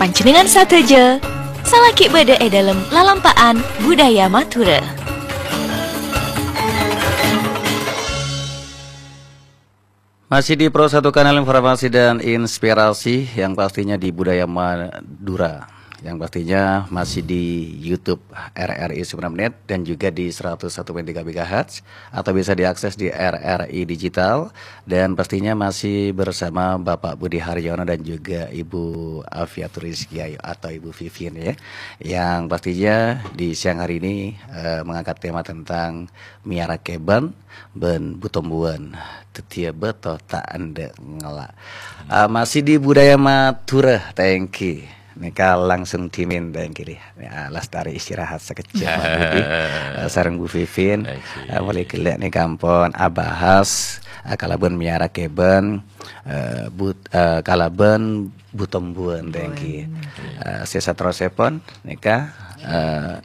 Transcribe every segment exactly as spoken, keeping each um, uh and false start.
Panjhennengngan sadhâjâ, salaghi bâdâ è dâlem lalampa'an budaya Madhurâ. Masih di Pro Satu Kanal Informasi dan Inspirasi, yang pastinya di Budaya Madura, yang pastinya masih di YouTube R R I sembilan Menit dan juga di seratus satu koma tiga megahertz, atau bisa diakses di R R I Digital, dan pastinya masih bersama Bapak Budi Haryono dan juga Ibu Afiatul Rizky Ayu atau Ibu Vivien, ya, yang pastinya di siang hari ini, eh, mengangkat tema tentang miyara kèbân bân bu-tombuwân. Dhâddhiyâ bâto ta' endâ' ngala'. Ah, masih di budaya Madhurâ, thank you. Nèka langsung dimin, thank you, Ri. Ya, lastari istirahat sakejjhât, Mas Budi. Eh, sareng Bu Vivien. Thank you. Eh, molaè ghellâ' nèka ampon abahas, eh, kalabân miyara kèbân, eh, but-, eh, kalabân bu-tombuwân, thank you. Tombuwân, thank you. Eh, sè saterrossèpon, nèka, eh,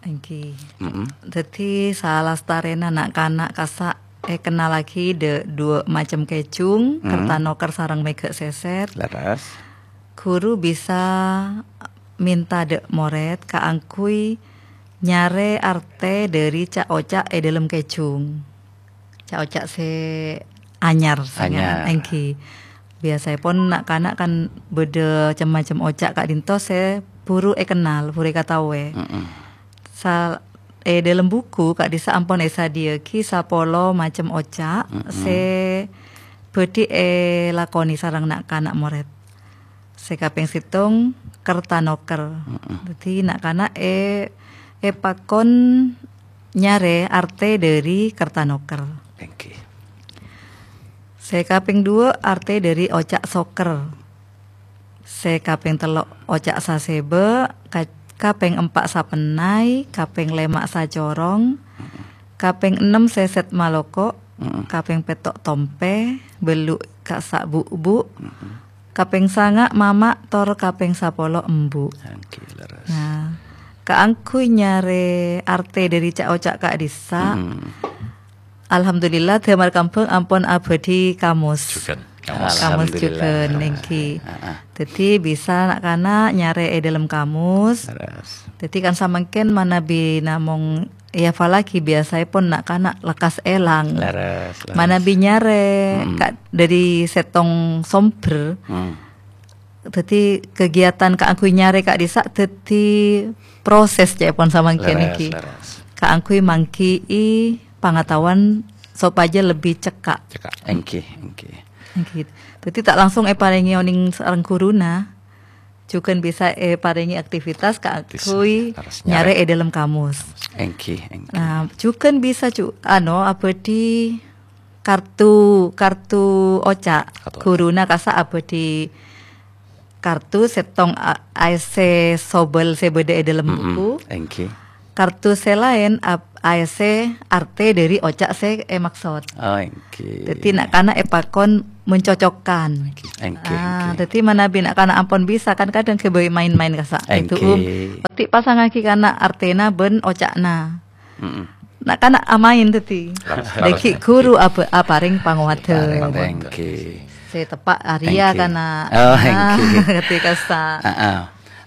Èngghi. Mm-mm. Dhâddhi, salastarèna na'-kana' kassa' èkennallaghi dâ', duwâ' macem kèjung, Mm. kertanoker sareng mèghâ' sèsèt. Leres. Ghuru bisa mènta dâ' morèd kaangghuy nyarè artè dâri ca'-oca' è dâlem kèjung. Ca'-oca' sè anyar, sè Anyar. Èngghi. Biyasaèpon na'-kana' kan bâdâ cem-macem oca' ka'dinto sè buru èkennal, buru èkataowè. Mm-mm. Sal-, è dâlem buku ka'dissa' ampon èsadhiyâaghi sapolo macem oca' Mm-mm. sè bhâdhi èlakonè sareng na'-kana' morèd. Sè kapèng sèttong, kertanoker. Mm-mm. Dhâddhi, na'-kana' è-, èpakon nyarè artè dâri kertanoker. Èngghi. Sè kapèng duwâ', artè dâri oca' soker. Sè kapèng tello', oca' sasèbâ', ka-, kapèng empa', sapennay, kapèng lèma', sacorong, Mm-mm. kapèng ennem, sèsèt maloko', Mm-mm. kapèng pètto', tompè, bâllu', kassa' bu'-bu', Mm-mm. kapèng sanga', mama', tor kapèng sapolo, embu'. Èngghi, leres. Nah, kaangghuy nyarè artè dâri ca'-oca' ka'dissa', Mm-mm. alhamdulillah, Damar Kambhâng ampon abhâdhi kamus. Jhughân, kamus. Kamus Alhamdulillah. Jhughân, èngghi. Ah, ah. Dhâddhi, bisa na'-kana' nyarè è dâlem kamus. Leres. Dhâddhi, kan samangkèn manabi namong èhafallaghi, biyasaèpon na'-kana' lekkas èlang. Leres, leres. Manabi nyarè Mm-mm. ka-, dâri sèttong sombher. Mm. Dhâddhi, kegiatan kaangghuy nyarè ka'dissa' dhâddhi proses ca'èpon samangkèn Leres, èngghi. Leres. Kaangghuy mangghi'i pangataowan sopajâ lebbi cekka'. Cekka'. Èngghi, èngghi. Èngghi. Dhâddhi, ta' langsung èparèngè onèng sareng ghuruna. Jhughân bisa èparèngè aktivitas kaangghuy Bisa, harus nyarè. Nyarè è dâlem kamus. Èngghi, èngghi. Nah, jhughân bisa ju-, ano, abhâdhi kartu, kartu oca'. Kartu oca'. Ghuruna kassa' abhâdhi kartu sèttong a-, aèssè sobel sè bâdâ è dâlem Mm-mm. buku. Èngghi. Kartu sè laèn ap-, aèssè artè dâri oca' sè èmaksod. Oh, èngghi. Dhâddhi, na'-kana' èpakon mencocokkan. Èngghi, Ah, èngghi. Dhâddhi manabi na'-kana' ampon bisa, kan kadhâng ghâbây maèn-maèn kassa'. Èngghi. Èdu'um. Pètè' pasangngaghi kana' artèna bân oca'na. Mm-mm. Na'-kana' amaèn dhâddhi. Leres, leres, Dhâgghi' èngghi. Ghuru ab-, aparèng pangowadhân. Aparèng, èngghi. Sè teppa' arèya Èngghi. Kana'. Oh, Nah, èngghi. Dhâddhi kassa'. Ah, ah.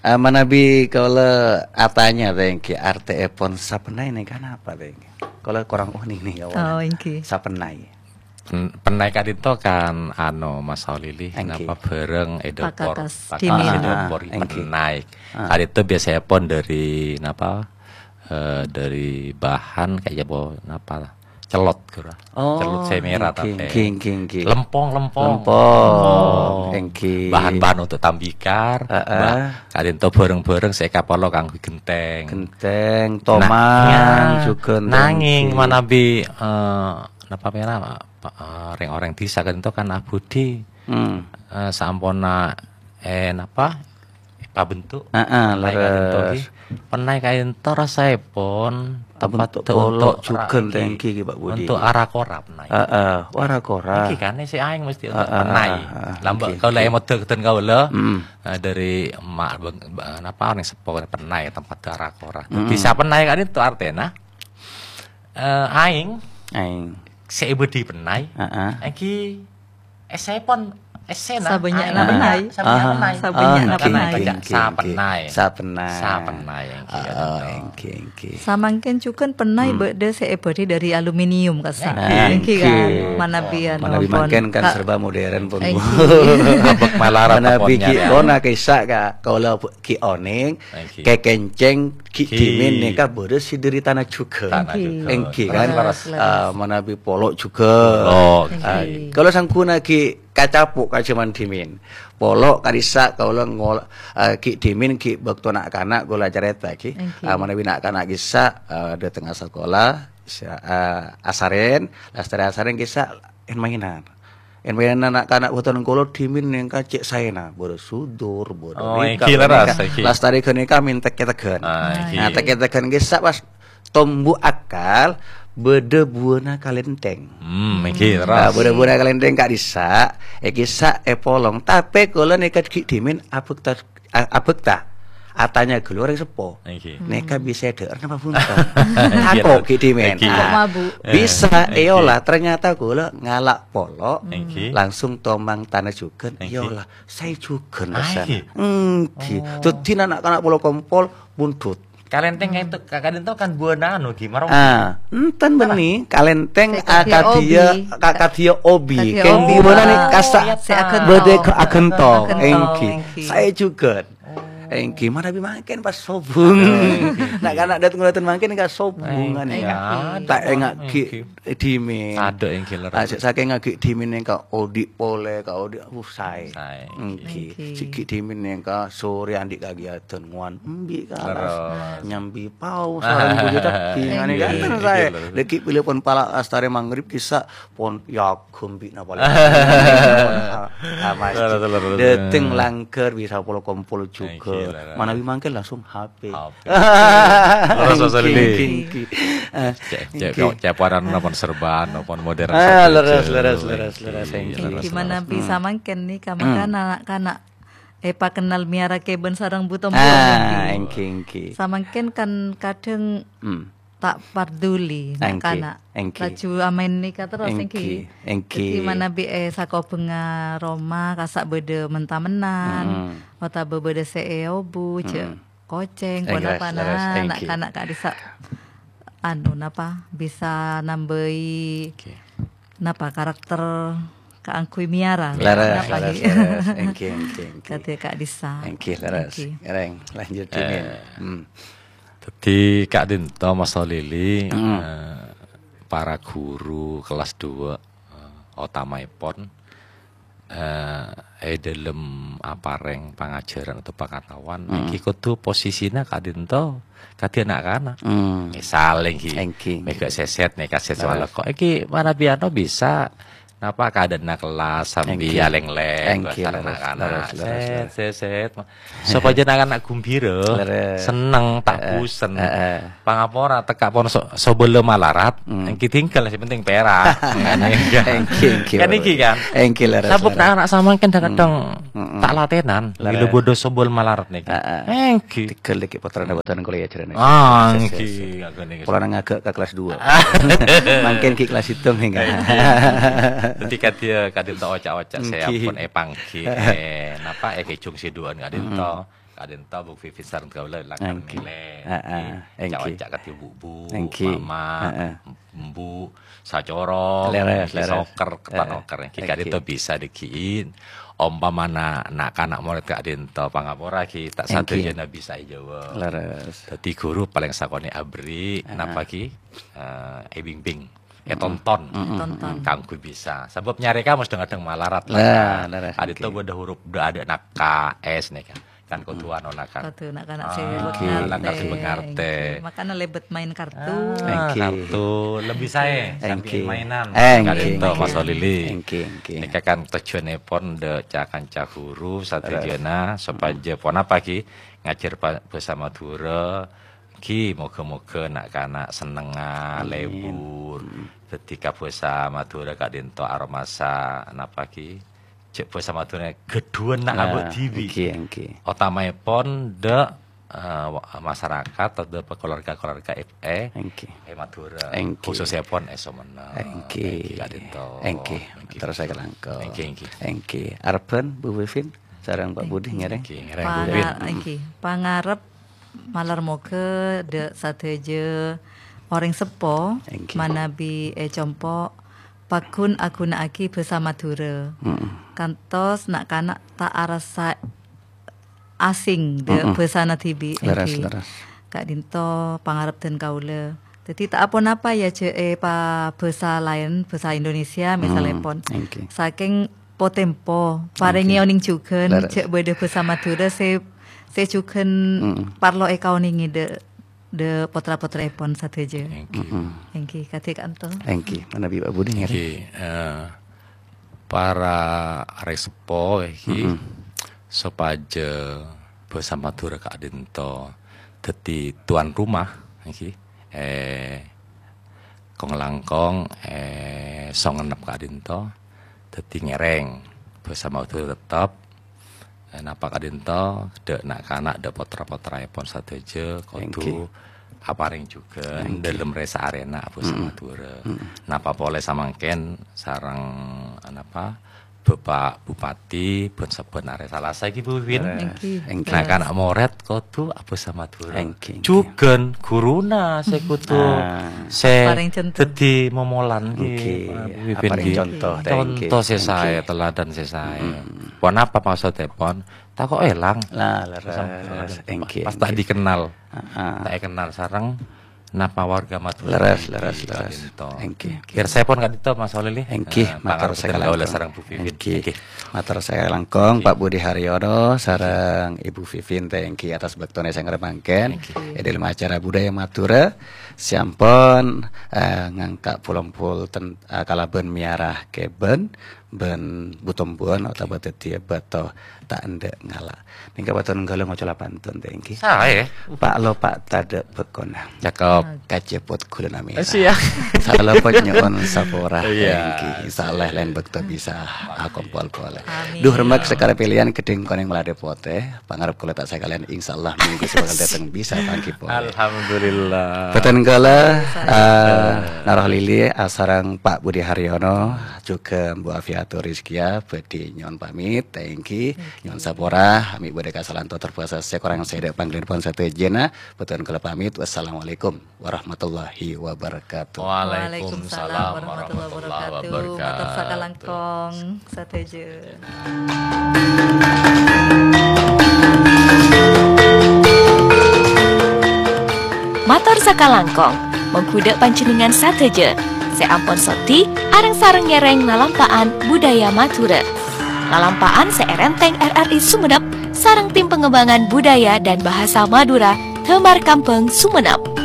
Eh, manabi kaulâ atanya, èngghi, artèèpon sapennay nèka napa, èngghi? Kaulâ korang onèng nèka, Oh, èngghi. Sapennay. Pen-, pennay ka'dinto kan, ano, Mas Saulili, Èngghi. Napa bhârâng è dâpor, Pakakas pakakas dhinèng. È dâpor Ah, èngghi. Pennay. Ah. Ka'dinto biyasaèpon dâri, napa, eh, dâri bahan kaya apa, napa, celot, ghuru. Oh, Celot sè mèra, èngghi, tapè. Èngghi, èngghi, èngghi. Lempong, lempong. Lempong, Lempong. Èngghi. Bahan-bahan untuk tambikar, Heeh. Mbak. Ka'dinto bhârâng-bhârâng sè èkaparlo kaangghuy ghentèng. Ghentèng, Na-, toman, ya, jhughân, nangèng èngghi. Manabi, eh, napa mèra, Pak, eh, rèng-orèng dhisa ka'dinto kan abhudhi. Hmm. Eh, saamponna, eh, napa, èpabentuk. Heeh, pennay ka'dinto leres. Ghi. Pennay ka'dinto rasaèpon Abentuk tepat polo' untuk jhughân ra-, èngghi, ghi, Pak Budi. Untuk ara-kora pennay. Heeh, ara-kora. Èngghi kan, sè aèng mesti untuk Heeh, pennay. Heeh, Lambâ' èngghi, kaulâ èngghi. Èmodâ ghâtèn kaulâ, Hmm. eh, dâri emma' beng-, ba-, napa, orèng seppo pennay tempat ara-kora. Hmm. Bisa pennay ka'dinto artèna, eh, aèng Aèng. sè èbâdhi pennay, Heeh. èngghi èssèpon Essèna. Sabannya'na pennay. Sabannya'na pennay. Sabannya'na pennay. Sabannya'na pennay. Sabannya'na pennay. Sabannya'na pennay, èngghi, Kak Dinto. Èngghi, èngghi. Samangkèn jhughân pennay bâdâ sè èbâdhi dâri aluminium, kassa'. Èngghi. Èngghi, kan? Manabi anu, manabi pon. Mangkèn kan serba modern, pon. Èngghi. Abâk malarat, manabi pon, ghi' nyarè. Kona kissa', Kak. Kaulâ ghi' onèng, èngghi, kèkèncèng ghi' dhimèn nèka bâdâ sè dâri tana jhughân. Tana jhughân. Èngghi, kan? Leres, leres. Ah, manabi polo' jhughân. Polo'. Ah, èngghi. Kaulâ sangghuna ghi' kacapo' ka jhâman dhimèn. Polo' ka'dissa' kaulâ ngol-, eh, ghi' dhimèn ghi' bâkto na'-kana' kaulâ carèta ghi. Èngghi. Eh, manabi na'-kana' kissa', eh, dâtengnga sakola, sa-, eh, asarèn, lastarè asarèn kissa' en-maènan. En-maènan na'-kana' bâdân kaulâ dhimèn nèngka cè' saèna, bâdâ sudur, bâdâ rika, èngghi, leres, èngghi. Lastarè ghânèka mènta tèk-tèghân. Ah, èngghi. Nah, tèk-tèghân kissa' pas tombu akal, bâdâ buwâna kalèntèng. Hmm, èngghi, leres. Nah, bâdâ buwâna kalèntèng ka'dissa', è kissa' èpolong. Tapè kaulâ nèka ghi' dhimèn abhâkta, a-, abhâkta. Atanya ghâllu orèng seppo. Èngghi. Nèka bisa èdhâ'âr napa bhunten? Èngghi, tako' leres. Ghi' dhimèn. Èngghi. Nah, mabuk. Bisa èolah, ternyata kaulâ ngala' polo', èngghi, langsung tomang tana jhughân, èngghi, èolah. Saè jhughân rassana. Èngghi. Oh. Dâddhi na'-kana' polo' kompol, bundhut. Kalèntèng itu, Kak Dinto kan buwâna anu, ghi, maronggi. Ah, enten bânnè, kalèntèng akadhiyâ, obi. Akadhiyâ obi. Kèng obi, buwâna nè kassa'. Sè aghento. Bâdâ aghento. Aghento, èngghi. Èngghi. Saè jhughân. Oh. Èngghi, manabi mangkèn pas sobung. Aduh, èngghi. Na'-kana' dâteng-dâteng mangkèn ka sobungan, èngghi, ya. Ta' ènga' ghi' dhimèn. Èngghi. Adâ', èngghi, leres. Ah, sè sakèng ghi' dhimèn nèngka odi' polè, ka odi', uh, saè. Saè, èngghi. Èngghi. Èngghi. Sè ghi' dhimèn nèngka sorè andi' kagiyâdhân ngowan embi' kalas. Leres. Nyambi paos, sareng budi tebbi, èngghi, ngene kan saè. Èngghi, leres. Dâgghi' bilâ pon pala lastarè maghrib kissa' pon yaghem bi' napa lè. Ah, ah, masjid. Leres, leres, leres. Dâteng langghâr bisa polo' kompol jhughân. Èngghi, leres. Manabi mangkèn langsung H P. H P. Leres, Mas Lili. Èngghi, èngghi, èngghi. Eh, cek, cek, èngghi. Kok cek warna napa serban, napa modern. Ah, leres, leres, leres, leres, èngghi, èngghi. Leres, leres. Gimana bisa mangkèn nèka, hmm, mangkana na'-kana' èpakennal mèyara kèbân sareng Bu Tombu, ah, èngghi. Èngghi, èngghi. Samangkèn kan kadhâng, hmm, ta' parduli, èngghi, na'-kana'. Èngghi. Laju amaèn nèka terros, èngghi, èngghi. Èngghi. Dâddhi manabi è sakobhângnga roma, kassa' bâdâ men-tamennan, mm-mm, otabâ bâdâ sè èobu, jhâ' mm-mm. Kocèng, èngghi, ponapa, leres, na', èngghi. Na'-kana' ka'dissa', anu, napa, bisa nambâi, èngghi, napa, karakter kaangghuy mèyara. Leres, napa, leres, ghi? Leres. Èngghi, èngghi, èngghi. Kadhi ka'dissa'. Èngghi, leres. Èngghi. Rèng, lanjut, Dimin. Eh, hmm. Dâddhi, ka'dinto, Mas Lili, hmm, eh, para guru kelas dua, eh, otamaèpon, eh, è dâlem aparèng pangajhârân atau pangataowan, mm-mm, èngghi kodhu posisina ka'dinto kadhi na'-kana'. Mm. Misal èngghi, èngghi, mèghâ sèsèt nèka sèsèt, leres, malako. Èngghi manabi anu bisa napa kaadâ'na kelas sambi, èngghi, alèng-lèng, èngghi, bhâsa leres, na'-kana'. Leres, leres, sèt, leres. Sèt, sèt. Sopajâ na'-kana' gumbira, leres, senneng, ta' busen. Heeh, heeh. Pangapora tekka' pon so-, sobellâ malarat, hmm, èngghi tinggal, sè penting pèra'. Èngghi, èngghi, kan? Èngghi, leres, leres. Sabuk na'-kana' samangkèn kadhâng-kadhâng, hmm, hmm, ta' latènan, leres, bilâ bâdâ sobellâ malarat nèka. Heeh. Èngghi. Tinggal dâgghi' pottrana bhâdhân kuliah jârèya. Ah, èngghi, èngghi, èngghi. Polana ngaghâ' ka kelas dua. Mangkèn ghi' kelas sèttong, èngghi. Èngghi. Dâddhi kadhi, kadhinto oca'-oca' sè, èngghi, ampon èpangghi, eh, napa, èkèjhung sè duwâ'ân kadhinto. Hmm. Ka'dinto Bu Vivi sareng kaulâ lakar, èngghi, mèlè. Heeh, èngghi. Èngghi. Ca'-oca' kadhi bu-bu, èngghi, mama, heeh, embu, sacorong, leres, èngghi, leres. Soker, heeh, panoker, èngghi, èngghi. Ka'dinto bisa dâgghi'in. Ompamana na'-kana' morèd ka'dinto pangapora, ghi, ta' èngghi sadhâjâna bisa èjâwâb. Leres. Dâddhi ghuru palèng sakonè' aberri', heeh, napa, ghi? Eh, èbimbing. Ètonton. Mm-mm. Ètonton. Kaangghuy bisa. Sabâb nyarè ka mos dhâng-adhâng malarat la. Nah, leres, ka'dinto èngghi. Bâdâ huruf dâ', adâ' na' K S nèka. Kan kodhu, mm, anu na'-kana'. Kodhu na'-kana' sè, ah, ngartè. Lakar sè ngartè. Èngghi. Makana lebet main kartu. Ah, èngghi. Kartu. Lebih saè, sambi, èngghi, mainan. Èngghi, èngghi. Ka'dinto, Mas Lili. Èngghi, èngghi. Nèka kan tojjhuwânnèpon dâ' ca-kanca ghuru sadhâjâna, leres, sopajâ, mm-mm, ponapa, ghi? Ngajhâr pa-, bhâsa Madhurâ, Ghi, moghâ-moghâ na'-kana' sennengnga, amin, lebur. Mm. Dâddhi ka bhâsa Madhurâ ka'dinto aromasa napa, ghi? Jhâ' bhâsa Madhurâ ghâdhuwân na' abâ' dhibi'. Nah, èngghi, èngghi. Otamaèpon dâ' eh, wa-, masarakat atau keluarga-keluarga F E, Èngghi. È Madhurâ, Èngghi. Khususèpon è Sumenep. Èngghi. Èngghi, Kak Dinto. Èngghi. Èngghi. Terros saya kelangkong. Èngghi, èngghi. Èngghi. Arebbhân, Bu Vivin, sareng Pak Budi Èngghi. Ngèrèng. Èngghi, ngèrèng, Bu Vivin. Panga-, èngghi. Pangarep malar moghâ dâ' sadhâjâ orèng seppo Èngghi. Manabi è compo' paggun aghuna'aghi bhâsa Madhurâ. Mm-mm. Kantos na'-kana' ta' arassa asing dâ' Mm-mm. bhâsana dhibi', Leres, èngghi. Leres. Ka'dinto pangarep dân kaulâ. Dhâddhi ta' aponapa ya jhâ' è pa-, bhâsa laèn, bhâsa Indonesia, Mm, misalèpon. Èngghi. Sakèng potempo, parèngè Èngghi. Onèng jhughân, Leres. Jhâ' bâdâ bhâsa Madhurâ sè, sè jhughân Mm-mm. parlo èkaonèngè dâ', dâ' potra-potraèpon sadhâjâ. Èngghi. Mm-mm. Èngghi, kadhi ka'anto. Èngghi, manabi Pak Budi ngèrèng. Èngghi, eh, para arèng seppo, èngghi, Mm-mm. sopajâ bhâsa Madhurâ ka'dinto dhâddhi tuan rumah, èngghi, è kong-langkong, è Sumenep ka'dinto, dhâddhi ngèrèng bhâsa Madhurâ tettep, è napa ka'dinto, dâ' na'-kana', dâ' potra-potraèpon sadhâjâ kodhu Èngghi. aparèng jhughân Èngghi. dâlem rè-saarèna abhâsa Mm. Madhurâ. Mm. Napa polè samangkèn sareng, napa, Bapak Bupati, bân sabbhân arè Salasa èngghi, Bu Win. Èngghi. Èngghi. Na'-kana' morèd kodhu abhâsa Madhurâ. Èngghi, èngghi. Jhughân ghuruna sè kodhu Ah. sè Aparèng conto. Dhâddhi momolan èngghi, Èngghi. Bu Win, Aparèng èngghi. Conto, èngghi. Conto sè Èngghi. Saè, teladan sè saè. Mm-mm. Ponapa maksodèpon? Tako' èlang. Lah, leres. Èngghi, Pas ta' èngghi. Dikenal. Ah, ah. Ta' èkennal sareng napa warga Madhurâ Leres, èngghi leres, leres. Ka'dinto. Èngghi. Pirsaèpon ka'dinto, Mas Walili. Èngghi, Eh, mator pangarep sakalangkong. Kaulâ sareng Bu Vivin. Èngghi. Èngghi. Mator sakalangkong, Pak Budi Haryono sareng Ibu Vivin, èngghi, atas bâktona sè ngarep mangkèn. Èngghi. È dâlem acara Budaya Madhurâ, sè ampon, eh, ngangka' pol-ompol ten-, eh, kalabân mèyara kèbân, bân butombhuwân otabâ dhâddhiyâ bâto ta' endâ' ngala'. Nèngka bâto nèngghâlâ ngoca' la pantun, èngghi. Saè. Pa' lo pa' tadâ' bâkona. Cakep. Kacèpot ghulâna mèra. Eh, siap. Salopot nyo'on sapora, Iya. Èngghi. Insya Allah laèn bâkto bisa akompol polè. Amin. Duh, remmak sakara pèlèyan ghâddhing konèng maladhâ potè. Pangarep kaulâ ta' sakalèyan, insya Allah minggu sè bhâkal dâteng bisa pangghi polè. Alhamdulillah. Bâdhân kaulâ, eh, Naroh Lili, eh, sareng Pak Budi Haryono, jhughân Bu Afiatul Rizkia, bhâdhi nyo'on pamit, èngghi, nyo'on sapora, ami' bâdâ kasalaan totor bhâsa sè korang sè dâ' pangghâliyân pon sadhâjâna, bâdhân kaulâ pamit. Wassalamualaikum warahmatullahi wabarakatuh. Waalaikumsalam warahmatullahi wabarakatuh. Mator sakalangkong sadhâjâ. Mator sakalangkong, mongghu dâ' panjhennengngan sadhâjâ sè ampon soddhi areng-sareng ngèrèng lalampa'an budaya Madhurâ. Lalampa'an sè èrèntèng R R I Sumenep sareng Tim Pengembangan Budaya dan Bahasa Madura, Damar Kambang, Sumenep.